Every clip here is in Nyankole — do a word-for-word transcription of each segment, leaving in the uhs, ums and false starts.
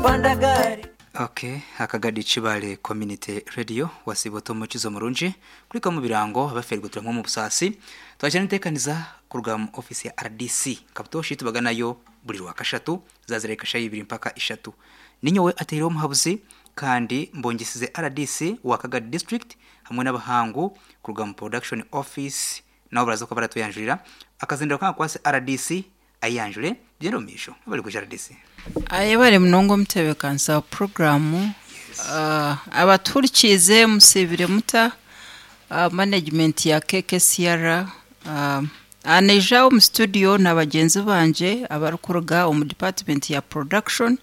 Panda gari. Okay, akagadi Kibale Community Radio wasiba omukizo murungi kulika mu birango abaferwe turamwe mu busasi twakira ntekaniza kuruga mu office ya R D C kabutoshi tubaganayo buri rwa kashatu zazireka shayi ibiri mpaka ishatu. Ninyowe ateire omuhabuzi kandi mbongesize R D C wa Kagadi District hamwe n'abahangu kuruga mu production office, nabo baraza ko baratuyanjurira akazindiro kankwase R D C ayanjure byendo misho bari kuja R D C. Ayebare munonga omutebeekanisa wa puroguramu. uh, abaturikize musibire muta uh, management ya K K C R uh, aneja omu studio na bagenzi banje abarikuruga omu department ya production.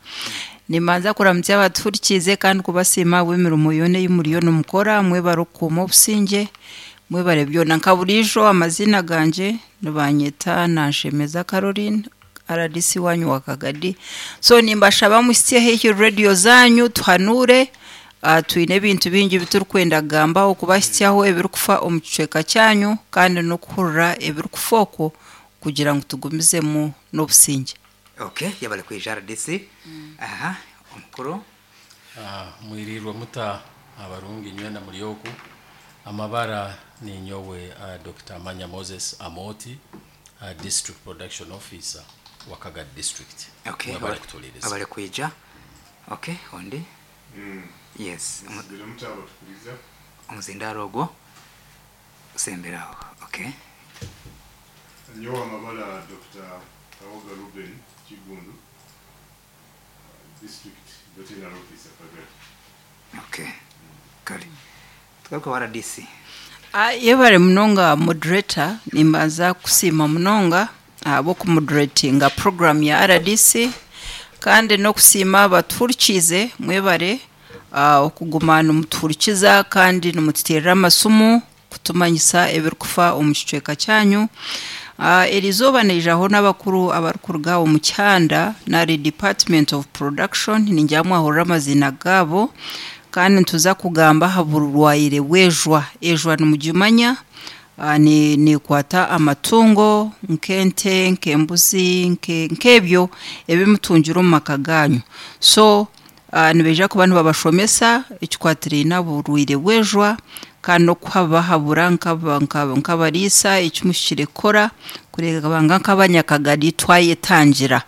Nimanza kuramutsa abaturikize kandi kubasiima bw'emirimo yoona ei muriyo nimukora. Mwebare okukuuma obusingye, mwebare byona. Nka buriijo, amazina ganje nibanyeta Nanshemeza Caroline, R D C wanyu wa Kagadi. So nimbashaba muhitsye haihi radio zanyu tuhanure. uh, twine ebintu bingi biturikwenda kugamba okubahitsyaho ebirikufa omu kicweka kyanyu kandi n'okuhurira ebirikufa okwo kugira ngu tugumizemu n'obusingye. Okay, yabale kwija R D C. Aha omukuru. Ah, mwirirwe muta abarungi nywena muri oku amabara. Ninyowe uh, Doctor Manya Moses Amoti, uh, district production officer wa Kagadi District. Okay. Mwebale abale- kutuuliriza. Abale kwija. Okay, ondi. Yes, omu- Biri mukyabatukuliza. Omuzindaro ogwo usemberaho. Okay. Nyowe amabala Doctor Kawoga Ruben Kigundu, uh, district veterinary officer, Kagadi. Okay, kale tugaruka wa R D C. Ah, yebare munonga moderator. Nimbanza kusiima munonga ahabw'okumoderatinga program ya R D C kandi n'okusiima abatuhurikiize. Mwebare ah, okuguma nimutuhurikiza kandi nimututeerera amasimu kutumanyisa ebirikufa omu kicweka kyanyu. Uh, eri izooba naijaho n'abakuru abarikuruga omu kyanda nari department of production. Ningira mwahurira amazina gaabo kandi nituza kugamba aha burwaire bw'ejwa. Ejwa nimugimanya, uh, ni nikwata amatungo nk'ente, nk'embuzi, nke- nk'ebyo ebimutungira omu maka ganyu. So uh, nibaija kuba nibabashomesa ekikwatiraine oburwaire bw'ejwa kandi n'okuhabahabura nk'aba- nk'aba- nk'abariisa ekimuhikire kukora kureeba nga nk'abanyakagari twayetangira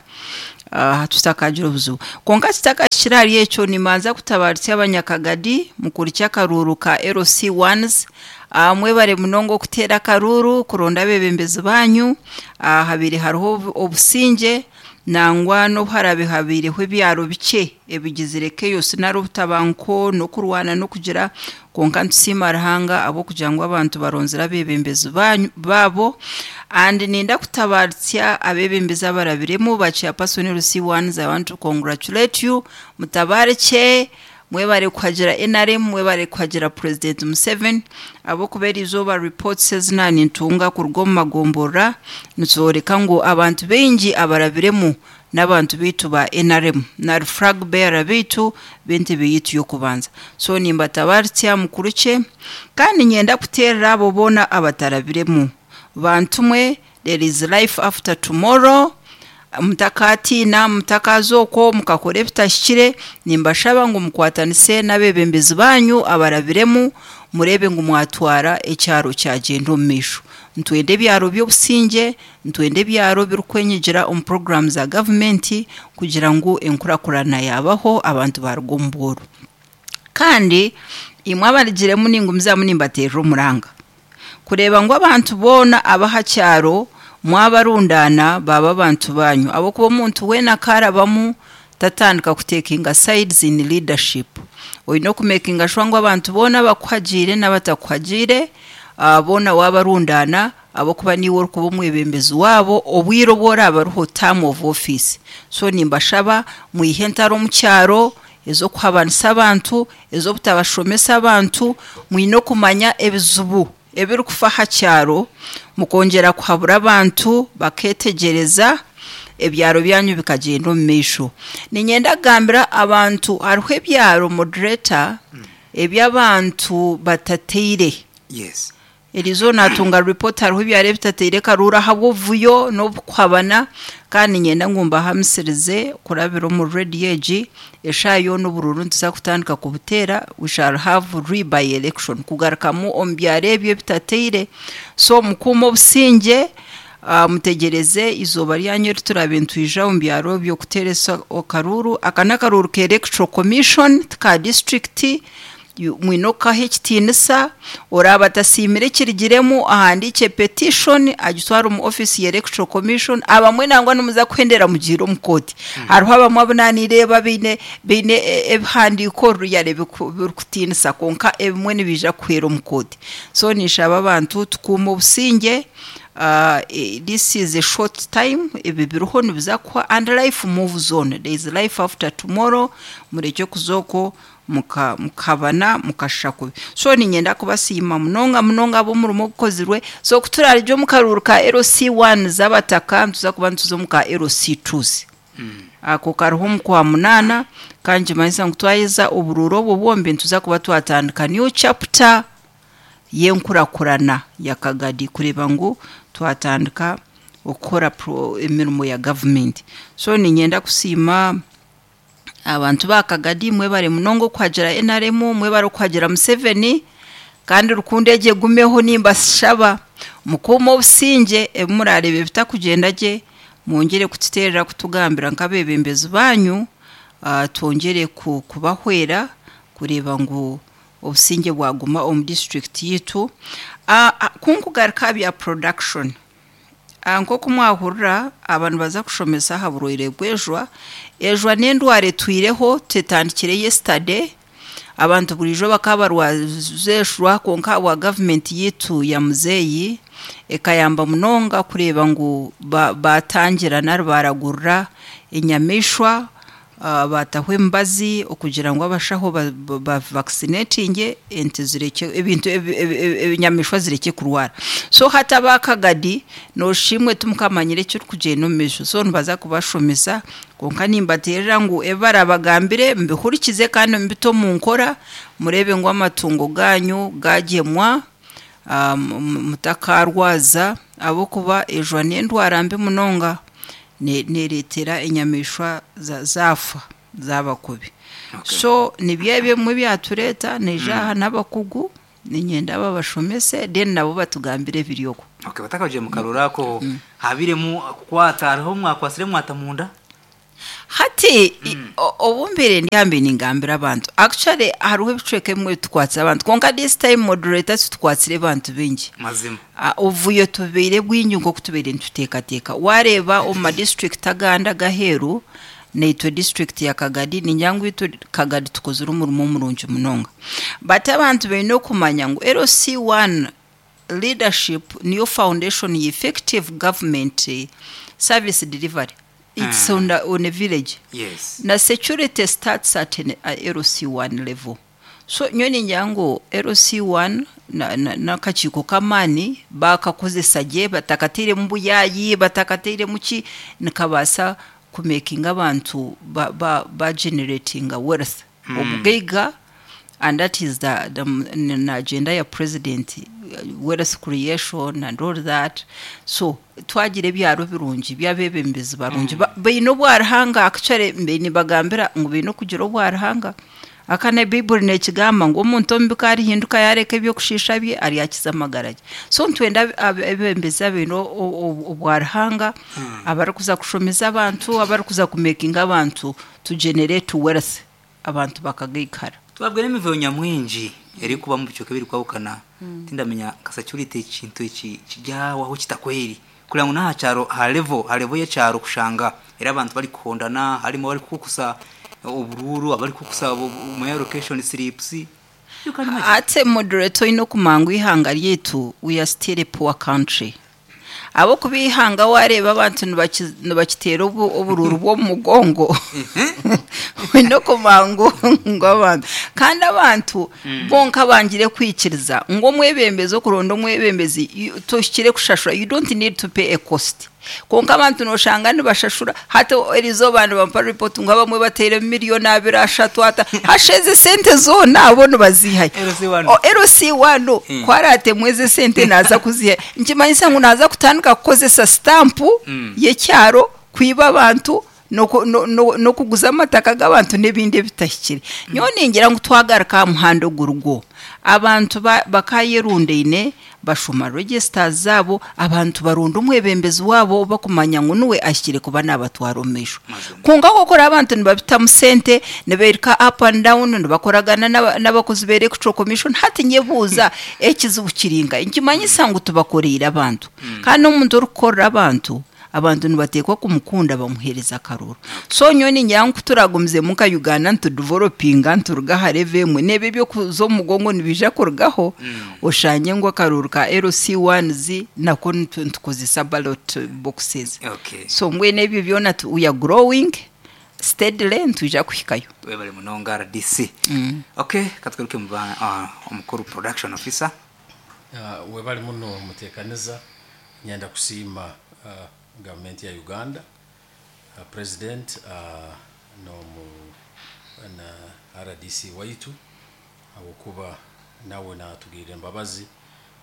uh, tutakagira obuzibu. Konka kitakakiri ahari ekyo, nimanza kutabaritsa abanyakagadi mukurikya akaruuru ka L C ones. uh, mwebare munonga okuteera akaruuru kuronda abebembezi banyu. uh, habire hariho obu- obusingye nangwa n'obuharabe habiireho ebyaro bikye ebigizire chaos nari obutabanguko n'okurwana n'okugira, konka nitusiima Ruhanga ahabw'okugira ngu abantu baronzire abebembezi banyu baabo. And ninda kutabaritsya abebembezi abarabiremu ba chairperson L C ones. I want to congratulate you. Mutabarike, mwebare kuhagira N R M, mwebare kuhagira President Museveni, ahabw'okuba izooba reports ezina nintunga kuruga omu magomborora nizoreka ngu abantu baingi abarabiremu n'abantu baitu ba N R M nari flag bearer baitu b'entebe yitu y'okubanza. So nimbatabaritsya mukurukye kandi nyenda kuteerera abo boona abatarabiremu. Bantu mwe, there is life after tomorrow. Mutakatiina, mutakaza okwo mukakora ebitahikire. Nimbashaba ngu mukwatanise n'abebembezi banyu abarabiremu murebe ngu mwatwara ekyaro kyagenda omu maisho. Ntwenda ebyaro by'obusingye, ntwenda ebyaro birikwenyigira omu poroguramu za gavumenti kugira ngu enkurakurana yabaho, abantu baruga omu bworo. Kandi imwe abarigiremu, ningumizamu nimbateerera omuranga kureeba ngu abantu boona abaha kyaro mwabarundana baba abantu banyu, ahabwokuba omuntu weena akarabamu tatandika kutekinga sides in leadership. Oine okumekinga sure ngu abantu boona abakuhagiire n'abatakuhagiire uh, boona wabarundana, ahabwokuba niiwe orikuba omwebembezi waabo obwire obu oraaba ariho term of office. So nimbashaba mwihe entaro omu kyaro ez'okuhabanisa abantu, ez'obutabashomesa abantu. Mwine okumanya ebizibu ebirikufa aha kyaro, mukongyera kuhabura abantu baketegereza, ebyaro byanyu bikagyenda omu maisho. Ninyenda kugambira abantu hariho ebyaro, moderator, eby'abantu batateire yes Erizo natunga report hariho ebyaro ebitateire karuuru ahabw'obuvuyo n'obukuhabana, kandi niinyenda ngu mbahamisirize kurabira omu rediyo egi, eshaaha yoona oburuuru nituza kutandika kubuteera, we shall have re-by election kugarukamu omu byaro ebyo ebitateire. So mukuume obusingye, uh, mutegyereze izooba ryanyu eri turaabe nitwija omu byaro ebyo kuteeresa akaruuru. Aka n'akaruuru ka electoral commission ti ka district, mwine okukaha ekitiinisa. Oraaba atasiimire ekirugiremu ahandiike petition agitware omu office ya electoral commission. Abamwe nangwa nimuza kuhendera mugiire omu kooti. Hariho abamwe abu naanireeba baine baine ebihandiiko ruyare birikutiinisa, kwonka ebimwe nibiija kuhwera omu kooti. So ninshaba abantu tukuume obusingye. Uh, this is a short time, ebi biriho nibiza kuhwa, and life moves on, there is life after tomorrow. Murekye kuza okwo mukabana mukashusha kubi. So niinyenda kubasiima munonga munonga ab'omurimo ogukozirwe. So ku turarugye omu karuuru ka L C one z'abataka, nituza kuba nituza omu ka L C twos. Ako kariho omu kwa munaana, kandi nikimanyisa ngu twaheza oburuuru obwo bwombi, nituza kuba twatandika new chapter y'enkurakurana ya Kagadi, kureeba ngu twatandika okukora emirimo ya gavumenti. So niinyenda kusiima abantu ba Kagadi, mwebare munonga okuhagira N R M, mwebare okuhagira Museveni, kandi rukundo egyo egumeho. Nimbashaba mukuume obusingye, ebi murareeba ebitakugyenda gye mwongyere kututeerera kutugambira nk'abeebembezi banyu, uh, twongyere kubahwera kureeba ngu obusingye bwaguma omu district yitu. uh, kunkugaruka aha bya production, uh, nk'oku mwahurira abantu baza kushomesa aha burwaire bw'ejwa. Ejwa n'endwara etwireho, tetandikire yesterday. Abantu burijo bakaba barwaza ejwa, kwonka bwa gavumenti yitu ya muzeeyi ekayamba munonga kureeba ngu batangira nari baragurira enyamaishwa, uh, bataho emibazi okugira ngu abashaho bavaccinatinge ente zireke ebintu ebinyamaishwa zireke kurwara. So hati abakagadi noshimwe timukamanyire ekirikugyenda omu maisho, so nibaza kubashomesa, kwonka nimbateerera ngu ebi barabagambire mbihurikize kandi mubite omu nkora, mureebe ngu amatungo ganyu gagyemwa, uh, mutakarwaza, ahabw'okuba ejwa n'endwara mbi munonga, nereetera enyamaishwa zaafa zaaba kubi. So nibyo ebimwe byatureeta niija aha n'abakugu, niinyenda babashomese, then nabo batugambire ebiri okwo. Okay, batakagiye mu karura ako habiremu kukwata, hariho mwakwasire mwata munda? Hati obumbire ndyambe ningambira abantu, actually hariho ebicweka ebimwe tukwatse abantu, kwonka this time, moderator, tutukwatsire abantu bingi. Mazima. Obuvuyo tubeire bwingi nk'oku tubeire nituteekateeka. Wareeba omu madistrict agandi agaheeru, naitwe district ya Kagadi, ningira ngu itwe Kagadi tukozire omurimo murungi munonga, but abantu baine okumanya ngu L C one leadership niyo foundation ya effective government service delivery. It's mm. on, the, on a village yes na security starts at an, a L C one level. So nyowe ningira ngu L C one n'akakiiko k'amaani bakakozesa gye, batakateiremu buyayi, batakateiremu ki, nikabaasa kumakinga abantu bageneratinga ba, ba wealth, mm. obugaiga, and that is the, the, the agenda ya president, wealth creation and all that. So twagira ebyaro birungi by'abebembezi barungi mm. baine obwaruhanga. Actually nibagambira ngu baine okugira obwaruhanga. Aka ne Bayibuli nekigamba ngu omuntu omubi karihinduka yareka ebyokushiisha bye, aryakiza amagara ge. So nitwenda abebembezi abaine obwaruhanga, abarikuza kushomesa abantu, abarikuza kumakinga abantu to generate wealth, abantu bakagaikara. Twabwire emivuyo nyamwingi erikuba mu bicweka ebiri kwahukana, tindamenya nka security ekintu eki kijyawaho kitakweri kugira ngu n'aha kyaro ha level ha level y'ekyaro kushanga era abantu bari kuhondana, harimo bari kukusa obururu, abari kukusa mu allocation slips. You can imagine. Ate moderator, oyine okumanya ngu ihanga ryaitu, we are still a poor country, ahabw'okuba ihanga wareeba abantu nibaki- nibakiteera obu- obururu bw'omu mugongo. Oine okumangu ngu abantu kandi abantu bonka bangire kwikiriza ngu omwebembezi, okuronda omwebembezi you- tohikire kushashura. You don't need to pay a cost. Konka abantu noshanga nibashashura. Hati eriizooba nibampa report ngu abamwe bateire miliyoni abiri, ashatu, ata hasheze sente zoona abo nibazihayo. L C one. O, L C one Mm. kwaratemwe eze sente naza kuziha, nkimanyisa ngu naza kutandika kukozesa stampu Mm. y'ekyaro kwiba abantu n'oku- no- no- n'okuguza amataka g'abantu n'ebindi ebitahikire. Nyowe ningira ngu twagaruka aha muhanda ogurugwo, abantu ba- bakayerundaine, bashoma registers zaabo, abantu baronda omwebembezi waabo bakumanya ngu niwe ahikire kuba nabatwara omu maisho. Mazima. Konka kokora abantu nibabitamu sente, niberika up and down, nibakoragana n'aba- n'abakozi ba Electoral Commission. Hati nyebuuza ekizibu kiringa. Nkimanyisa ngu tubakoreire abantu, kandi n'omuntu orikukorera abantu, abantu nibateekwa kumukunda, bamuheereza akaruru. So nyowe ningira ngu turagumize nka Uganda nitudevelopinga, nituruga aha level emwe, n'ebyo ebyokuza omu mugongo nibiija kurugaho, oshanye ngu akaruru ka L C ones nako nitu- nitukozesa ballot boxes. Okay so mbwenu ebyo byona tu- we are growing steadily, nitwija kuhikayo. Webale munonga, R D C. Okay, katwiruke mu ba uh, omukuru production officer. Uh, webali muno mutekaniza. Nyenda kusiima uh, gavumenti ya Uganda, uh, president uh, nomu na R D C waitu, habwokuba nawe natugirira embabazi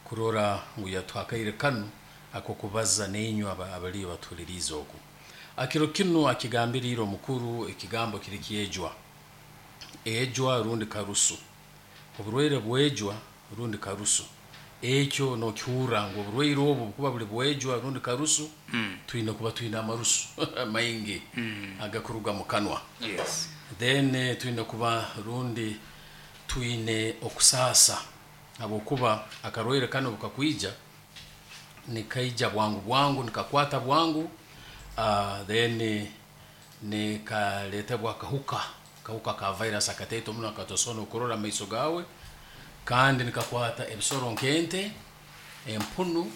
kurora ngu yatuhakaire kanu akokubaza neinywe aba- abaliyo batuhuliriize. Oku akiro kinu akigambiriire omukuru, ekigambo kiri kyejwa, ejwa rundi karusu, oburwaire bwejwa rundi karusu. Ekyo nokihurra ngu oburwaire obu bukuba buli bwejwa rundi karusu, mm. twine kuba twine amarusu maingi mm. agakuruga mu kanwa. Yes then eh, twine kuba rundi twine okusaasa, habwokuba akarwaire kano bukakwija nikaija bwangu bwangu, nikakwata bwangu, uh, then eh, nikaletebwa akahuka, kahuka ka virus akateito muno akatosobola okurora amaiso gawe, kandi nikakwata ebisoro nk'ente, empunu,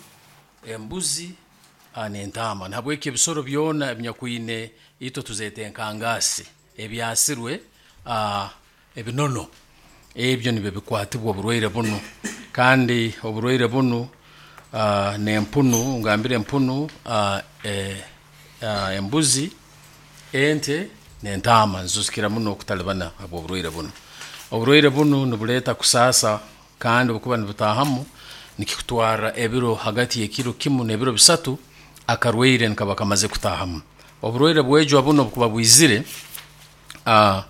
embuzi ah, n'entaama. Nahabweki ebisoro byona ebinyakwine itwe tuzeeta enkangasi ebyasirwe ah, ebinono ebyo nibyo bikwatibwa oburwaire bunu. Kandi oburwaire bunu uh, nempunu, ngambire empunu, uh, eh, uh, embuzi, ente nentaama nizo zikira muno okutalibana habw'oburwaire bunu. Oburwaire bunu nibuleeta kusaasa, kandi obukuba nibutahamu nikikutwara ebiro hagati y'ekiro kimu n'ebiro bisatu akarwaire nikaba kamaze kutahamu. Oburwaire bwejwa buno bukuba bwizire, uh,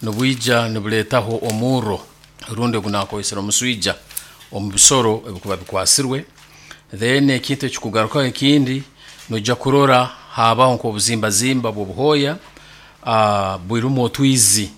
nibwija nibuleetaho omurro rundi ogunakozesera omuswija omu bisoro ebikuba bikwasirwe. Then ekintu ekikugarukaho ekindi, noija kurora habaho nk'obuzimbazimba bw'obuhooya uh, burimu otwizi.